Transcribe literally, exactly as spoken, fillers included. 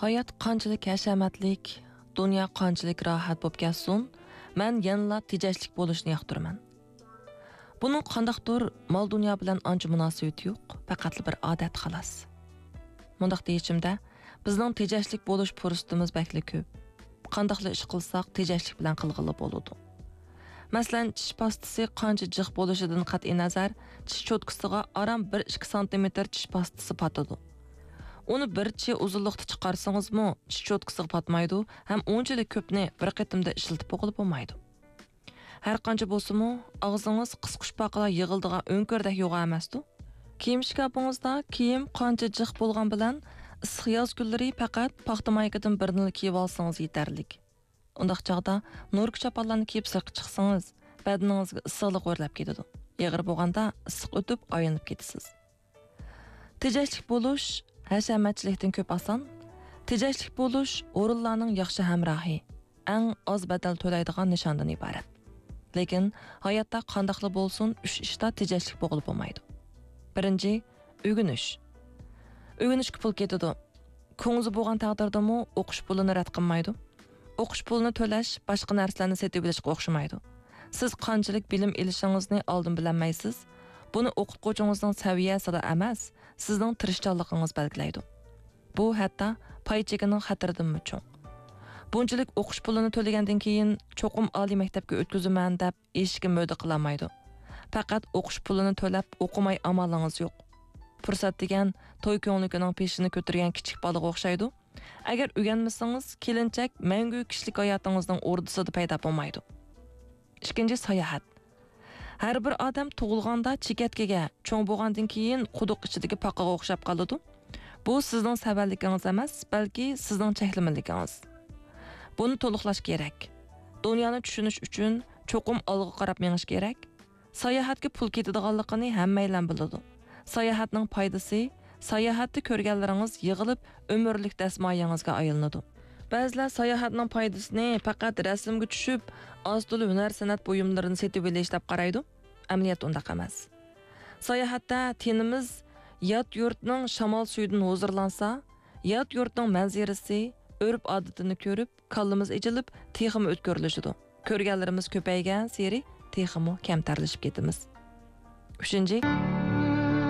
ھايات قانچىلىك ھەشەمەتلىك، دۇنيا قانچىلىك راھەت بولۇپ كەتسۇن، مەن يەنىلا تېجەشلىك بولۇشنى ياقتۇرىمەن. بۇنىڭ قانداقتۇر مال-دۇنيا بىلەن ئانچە مۇناسىۋىتى يوق، پەقەتلا بىر ئادەت خالاس. مۇنداق دېيىشىمدە، بىزنىڭ تېجەشلىك بولۇش پۇرسىتىمىز بەكلا كۆپ. قانداقلا ئىش قىلساق، تېجەشلىك بىلەن قىلغىلى بولىدۇ. مەسىلەن، چىش پاستىسى قانچە جىق بولۇشىدىن قەتئىينەزەر، چىش چوتكىسىغا ئاران بىر ئىككى سانتىمېتىر چىش پاستىسى پاتىدۇ. ئۇنى بىر چى ئۇزۇنلۇقتا چىقارسىڭىزمۇ، چىش چوتكىسىغا پاتمايدۇ ھەم ئۇنچىلىك كۆپنى بىر قېتىمدا ئىشلىتىپ بولغىلى بولمايدۇ. ھەر قانچە بولسىمۇ، ئاغزىڭىز قىسقۇچپاقىلار يىغىلىدىغان ئۆڭكۈردەك يوغان ئەمەستۇ؟ كىيىم شىكاپىڭىزدا كىيىم قانچە جىق بولغان بىلەن، ئىسسىق ياز كۈنلىرى پەقەت پاختا مايكىدىن بىرنىلا كىيىۋالسىڭىز يېتەرلىك. ئۇنداق چاغدا نورۇك چاپانلارنى كىيىپ سىرتقا چىقسىڭىز، بەدىنىڭىزگە ئىسسىقلىق ئۆرلەپ كېتىدۇ. ئېغىر بولغاندا ئىسسىق ئۆتۈپ ئايلىنىپ كېتىسىز. تېجەشلىك بولۇش ھەشەمەتچىلىكتىن كۆپ ئاسان. تېجەشلىك بولۇش ھۇرۇنلارنىڭ ياخشى ھەمراھى، ئەڭ ئاز بەدەل تۆلەيدىغان نىشاندىن ئىبارەت. لېكىن ھاياتتا قانداقلا بولسۇن، ئۈچ ئىشتا تېجەشلىك بولغىلى بولمايدۇ. بىرىنچى، ئۆگىنىش. ئۆگىنىشكە پۇل كېتىدۇ. كۇڭزى بولغان تەقدىردىمۇ ئوقۇش پۇلىنى رەت قىلمايدۇ. ئوقۇش پۇلىنى تۆلەش باشقا نەرسىلەرنى سېتىۋېلىشقا ئوخشىمايدۇ. سىز قانچىلىك بىلىم ئېلىشىڭىزنى ئالدىن بىلەلمەيسىز. بۇنى ئوقۇتقۇچىڭىزنىڭ سەۋىيەسىلا ئەمەس، سىزنىڭ تىرىشچانلىقىڭىز بەلگىلەيدۇ. بۇ ھەتتا پاي چېكىنىڭ خەتىرىدىنمۇ چوڭ. بۇنچىلىك ئوقۇش پۇلىنى تۆلىگەندىن كېيىن، چوقۇم ئالىي مەكتەپكە ئۆتكۈزىمەن دەپ ئېشىشكە مۆدە قىلالمايدۇ. پەقەت ئوقۇش پۇلىنى تۆلەپ ئوقۇماي ئامالىڭىز يوق. پۇرسەت دېگەن توي كۆڭلىكىنىڭ پېشىنى كۆتۈرگەن كىچىك بالىغا ئوخشايدۇ. ئەگەر ئۆگەنمىسىڭىز، كېلىنچەك مەڭگۈ كىشىلىك ھاياتىڭىزنىڭ ئوردىسىدا پەيدا بولمايدۇ. ئىككىنچى، ساياھەت. ھەر بىر ئادەم تۇغۇلغاندا چېكەتكىگە، چوڭ بولغاندىن كېيىن قۇدۇق ئىچىدىكى پاقىغا ئوخشاپ قالىدۇ. بۇ سىزنىڭ سەۋەنلىكىڭىز ئەمەس، بەلكى سىزنىڭ چەكلىمىلىكىڭىز. بۇنى تولۇقلاش كېرەك. دۇنيانى چۈشىنىش ئۈچۈن چوقۇم ئالغا قاراپ مېڭىش كېرەك. ساياھەتكە پۇل كېتىدىغانلىقىنى ھەممەيلەن بىلىدۇ. ساياھەتنىڭ پايدىسى، ساياھەتتە كۆرگەنلىرىڭىز يىغىلىپ ئۆمۈرلۈك دەسمايىڭىزگە ئايلىنىدۇ. بەزىلەر ساياھەتنىڭ پايدىسىنى پەقەت رەسىمگە چۈشۈپ، ئاز-تولا ھۈنەر-سەنئەت بۇيۇملىرىنى سېتىۋېلىش دەپ قارايدۇ. ئەمەلىيەتتە ئۇنداق ئەمەس. ساياھەتتە تېنىمىز يات يۇرتنىڭ شامال سۈيىدىن ھۇزۇرلانسا، يات يۇرتنىڭ مەنزىرىسى، ئۆرپ-ئادىتىنى كۆرۈپ، كاللىمىز ئېچىلىپ، تېخىمۇ ئۆتكۈرلىشىدۇ. كۆرگەنلىرىمىز كۆپەيگەنسېرى تېخىمۇ كەمتەرلىشىپ كېتىمىز. ئۈچىنچى،